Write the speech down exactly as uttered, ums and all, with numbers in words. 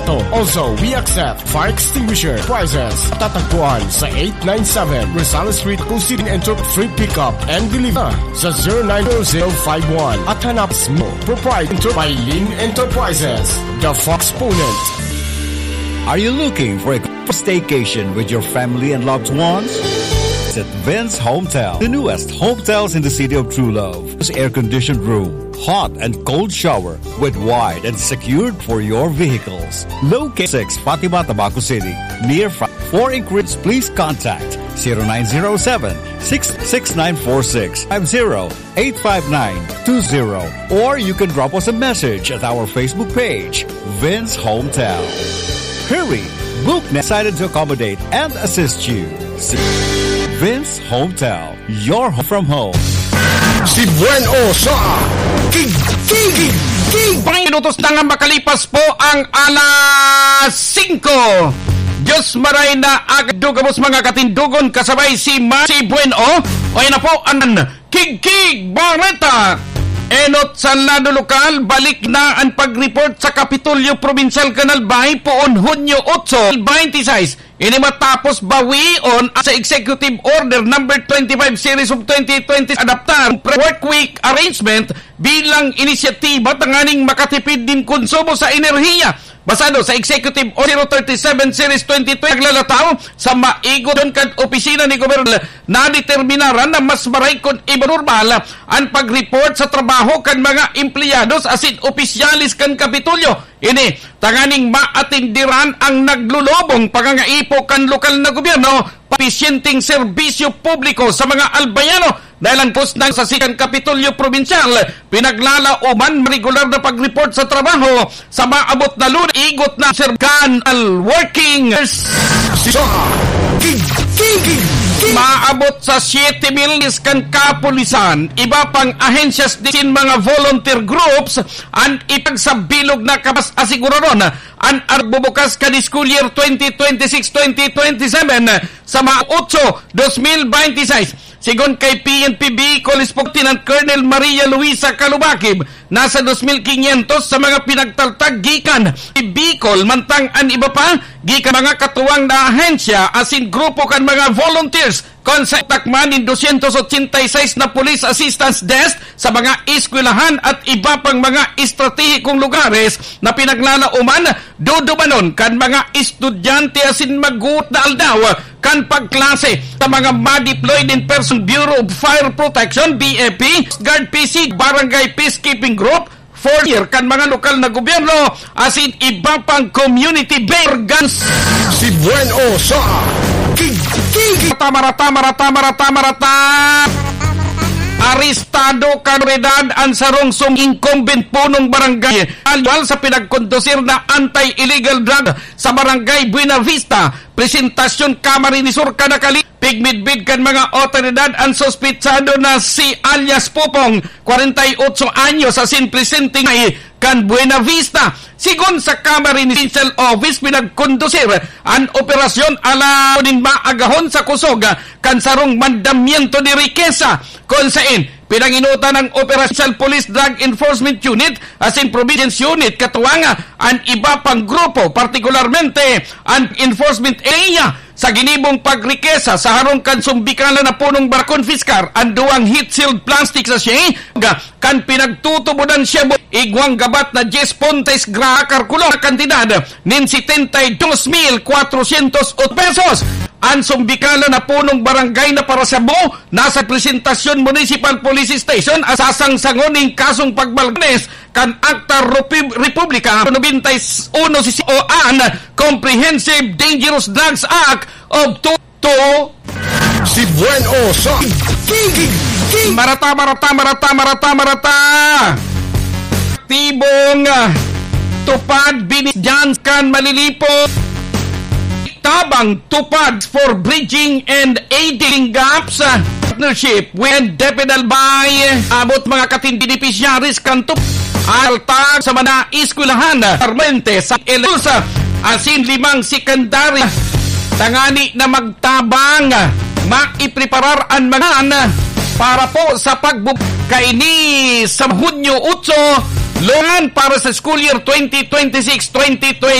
Also, we accept fire extinguisher prices. Tatagpuan sa eight nine seven Rosales Street, Cusibin, and free pickup and deliver sa zero nine zero zero five one. At hanap mo, proprietor by Lin Enterprises, the Fox Ponent. Are you looking for a staycation with your family and loved ones? Visit Vince Hometel, the newest hotels in the city of true love. Air-conditioned room, hot and cold shower with wide and secured for your vehicles. Located six Fatima, Tabaco City, near Fa-, for inquiries, please contact zero nine zero seven, six six nine four six five zero, eight five nine two zero, or you can drop us a message at our Facebook page, Vince Hometel. Hurry! Book na, excited to accommodate and assist you. Vince Hometel, your home from home. Si Buen O sa Tig-, Tig-, Tig-, Tig-, Pang minutos na nga makalipas po ang alas singko. Diyos maray na agad, gabos mga katindogon, kasabay si Ma-, si Buen O. O, yan na po ang Kigkig Bareta. Enot sa lado lokal, balik na an pag-report sa Kapitolyo Probinsyal kan Albay poon Hunyo otso, twenty-six. Ini matapos bawion sa Executive Order Number twenty-five Series of twenty twenty, adaptar pre-, work week arrangement bilang inisyatiba tanganing makatipid nin konsumo sa enerhiya. Basado sa Executive Order zero thirty-seven Series twenty twenty, naglalataw sa maigot kan opisina ni Gobernador, nadeterminaran na mas maray kun iba normal an pag-report sa trabaho kan mga empleyados asin opisyales kan Kapitolyo. Ini tanganing maatenderan ang naglulubong pangangaipo kan lokal na gobyerno, episyenteng serbisyo publiko sa mga Albayano. Dahil ang post ng sa Sikan Kapitolyo Probinsyal, pinaglalaoman regular na pag-report sa trabaho sa maabot na Lunes, igot na serkan al working. Sa Tig-, Tig-, Tig-, maabot sa siyete mil kan kapulisan, iba pang ahensyas din mga volunteer groups, an ipagsabilog na kapas asiguradon an arbubukas kan school year twenty twenty-six twenty twenty-seven sa mga otso, dos mil beintiseis. Sigon kay P N P Bicol Spokesperson Colonel Maria Luisa Calubakib, nasa dos mil quinientos sa mga pinagtaltag gikan sa Bicol, mantang an iba pa gikan mga katuwang na ahensya asin grupo kan mga volunteers. Kun sa takman nin dosyentos otsenta y seis na police assistance desk sa mga eskwelahan at iba pang mga estratehikong lugares na pinaglalaoman, dudumanon kan mga estudyante asin maguot na aldaw kan pagklase sa mga ma-deploy nin person Bureau of Fire Protection, B F P, Coast Guard P C, Barangay Peacekeeping Group, four year kan mga lokal na gobyerno asin iba pang community organs. Si Buen O sa Tig-, Tig-, Marata, marata, marata, marata, marata. Arestado kan otoridad an sarong sum-, incumbent punong barangay, aliwal sa pinagkondusir na anti-illegal drug sa Barangay Buenavista, Presentacion, Camarines Sur, kada kali. Pigmidbid kan mga otoridad an suspetsado na si alias Pupong, kwarenta y otso anyos, asin presente kan Buenavista. Sigon sa Camarines Provincial Office, pinagkondusir an operasyon alang nin maagahon sa kusog kan sarong mandamiento de rikesa, kun saen pinanginutan ang Provincial Police Drug Enforcement Unit asin Provincial Unit katuwang an iba pang grupo, partikularmente an enforcement area, sa ginibong pagrikesa sa harong kan sumbikalan na punong bar-, konpiskar an duwang heat-sealed plastic sachet kan pinagtutubodan shabu, igwang gabat na dyes puntos gra, kalkulo na kantidad nin setenta y dos mil cuatrocientos pesos. An sumbikalan na punong barangay na para shabu nasa Presentacion Municipal Police Station, sasangsangon nin kasong pagbalkanes kan Akta Repu-, Republika nobenta y uno, si o an Comprehensive Dangerous Drugs Act of two, two. Si Buen O sa Tig-, Tig-, Tig-, Marata, marata, marata, marata, marata. Aktibong, ah, tupad, binis dyan kan malilipo. Tabang tupad for bridging and aiding gaps, ah, partnership with Depedal by abot mga katin beneficiaries kan tup-, alta sa mga eskwelahan, Armente sa Elelos, asin limang sekundari tangani na magtabang, maipreparar an mga para po sa pagbu-, kaini sa Hunyo otso, lungan para sa school year twenty twenty-six, twenty twenty.